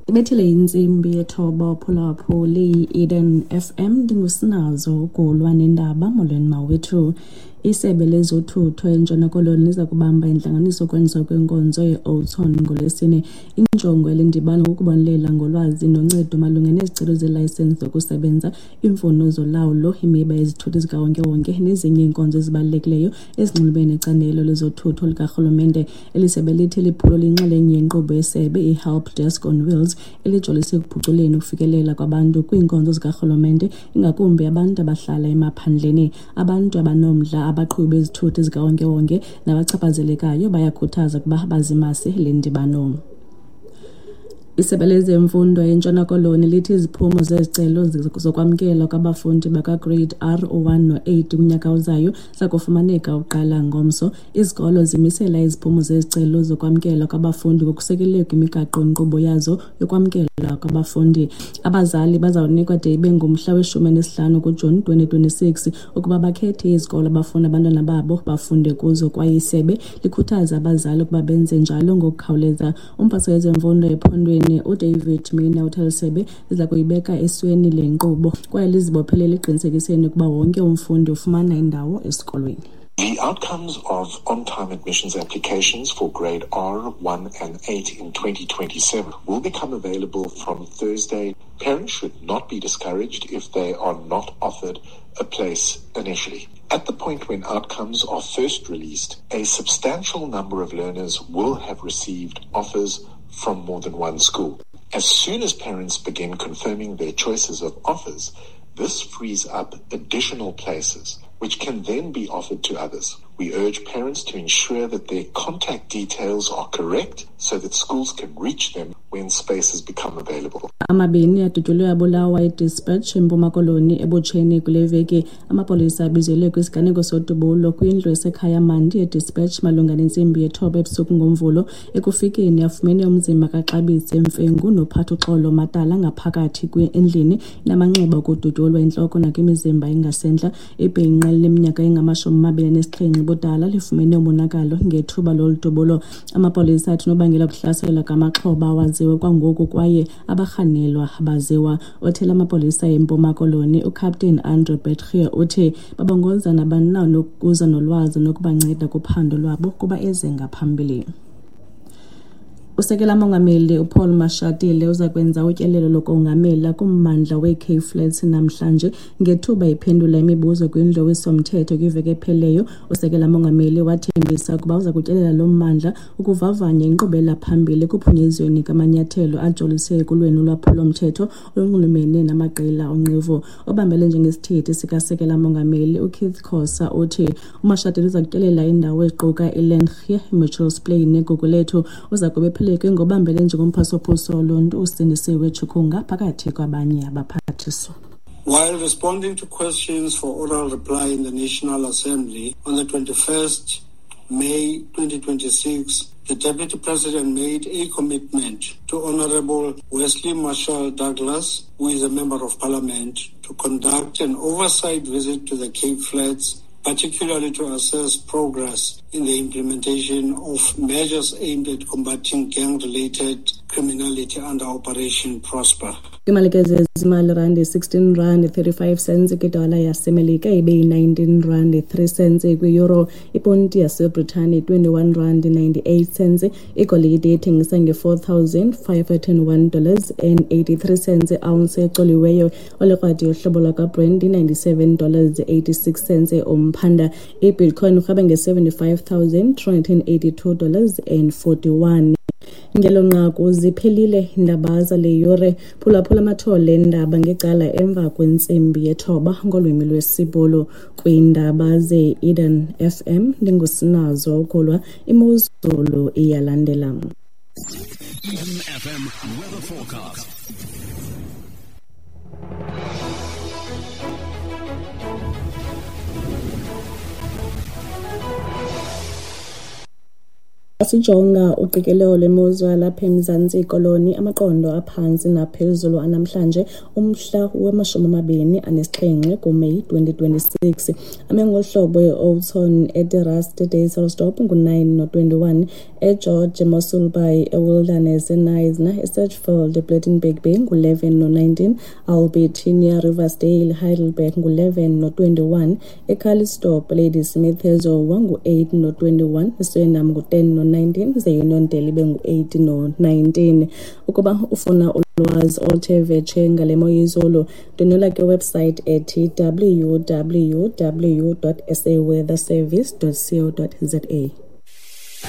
Ibethile intsimbi yethoba uphulaphuli yi-Eden FM, ndinguSinazo ugulwa nendaba. Molweni mawethu. Isebe lezothutho eNtshona Koloni liza kubamba intlanganiso yokwenziwa kwenkonzo ye-Oton ngoLwesine. Injongo yale ndibano kukubonelela ngolwazi noncedo malunga nezicelo zeelayisensi zokusebenza, iimfuno zolawulo, imiba yezithuthi zikawonkewonke nezinye iinkonzo ezibalulekileyo ezinxulumene necandelo lezothutho likarhulumente. Eli sebe lithi liphulo liyinxalenye yenkqubo yesebe iHelp Desk on Wheels elijolise ekuphuculeni ukufikelela kwabantu kwiinkonzo zikarhulumente, ingakumbi abantu abahlala emaphandleni. Abantu abanomdla, abaqhubi bezithuthi zikawonkewonke nabachaphazelekayo bayakhuthaza ukuba bazimase le ndibano. Isebe lezemfundo eNtshona Koloni lithi iziphumo zezicelo zokwamkelwa kwabafundi bakaGrade R u-1 no-8 kunyaka ozayo zakufumaneka uqala ngomso. Izikolo zimisela iziphumo zezicelo zokwamkelwa kwabafundi ngokusekelwe kwimigaqo-nkqubo yazo yokwamkelwa kwabafundi. Abazali bazawunikwa de ibe ngumhla we-15 kuJuni 2026 ukuba bakhethe izikolo abafuna abantwana babo bafunde kuzo, kwaye isebe likhuthaza abazali ukuba benze njalo ngokukhawuleza. Umphathiswa wezemfundo ephondweni uDavid Mina uthe eli sebe liza kuyibeka esweni le nkqubo kwaye lizibophelele ekuqinisekiseni ukuba wonke umfundi ufumana indawo esikolweni. The outcomes of on-time admissions applications for grade R, 1 and 8 in 2027 will become available from Thursday. Parents should not be discouraged if they are not offered a place initially. At the point when outcomes are first released, a substantial number of learners will have received offers from more than one school. As soon as parents begin confirming their choices of offers, this frees up additional places, which can then be offered to others. We urge parents to ensure that their contact details are correct so that schools can reach them when spaces become available. Amabini adutyulwe abulawa eDespatch eMpuma Koloni ebutsheni kule veki. Amapolisa abizelwe kwisiganeko sodubulo kwindlu esekhaya Mandi eDespatch malunga nentsimbi yethoba ebusuku ngoMvulo. Ekufikeni afumene umzimba kaXabise Mfengu noPhathuxolo Matala ngaphakathi endlini namanxeba okudutyulwa entloko nakwimizimba engasentla. Ibhinqa elineminyaka engama-27 ubudala lifumene umonakalo ngethuba lolu dubulo. Amapolisa athi unobangela wokuhlaselwa kwamaxhoba awaziwa kwangoku kwaye abarhanelwa abaziwa. Othela amapolisa eMpuma Koloni uCaptain Andre Beetge uthi babongoza nabani na onokuza nolwazi nokubanceda kuphando lwabo kuba eze ngaphambili. Usekela mongameli uPaul Mashatile uza kwenza utyelelo lokongamela kummandla weeCape Flats namhlanje. Ngethuba ephendula imibuzo kwindlu yowiso-mthetho kwiveki ephelileyo, usekela mongameli wathembisa ukuba uza kutyelela lo mmandla ukuvavanya inkqubela phambili ekuphunyezweni kwamanyathelo ajolise ekulweni ulwaphulo-mthetho olunxulumene namaqela onqevu. Obambele njengesithethi sikasekela mongameli uKeith Khosa uthi uMashatile uza kutyelela iindawo eziquka iLengie, iMitchells Plain neGugulethu. Uza kube ephelekwe ngobambele njengomphathiswa woluntu uSindisiwe Chikunga phakathi kwabanye abaphathiswa. While responding to questions for oral reply in the National Assembly on the 21st May 2026, the Deputy President made a commitment to Honorable Wesley Marshall Douglas, who is a Member of Parliament, to conduct an oversight visit to the Cape Flats, particularly to assess progress in the implementation of measures aimed at combating gang-related criminality under Operation Prosper. Imalike zezimali randi 16 rand 35 cents kwidola yaseMelika, ibe yi-19 rand 3 cents kwi-euro, iponti yaseBritane 21 rand 98 cents, igolide ithengisa nge-$4,501 and 83 cents ounce ecoliweyo, olikrwadi yohlobo lwakwaBrent i-$97 86 cents umphanda, ibitcoin urhweba nge-$75,382 and 41. Ngelo nqaku ziphelile iindaba zale yure. Phulaphula amathole eendaba ngecala emva kwentsimbi yethoba ngolwimi lwesiBhulu. Kwiindaba ze-Eden FM ndinguSinazo Ukulwa, imozulu iyalandela. Eden FM weather forecast. Sijonga uqikelelo lwemozulu yalapha eMzantsi Koloni, amaqondo aphantsi naphezulu anamhlanje umhla wama-27 kuMeyi 2026. Ame ngolu hlobo: eOughton, eTerrace, eDysselsdorp ngu-9 no-21, eGeorge, eMossel Bay, eWilderness, eKnysna, eSedgefield, ePlettenberg Bay ngu-11 no-19, Albertinia, Riversdale, Heidelberg ngu-11 no-21, eCalitzdorp, Ladysmith, eZowa ngu-8 no-21, eSwellendam ngu-10 no-19, ze Uniondale ibe ngu-8 no-19. Ukuba ufuna ulwazi oluthe vetshe ngale mo yezulu, ndwendwela kwiwebsite ethi www.saweatherservice.co.za.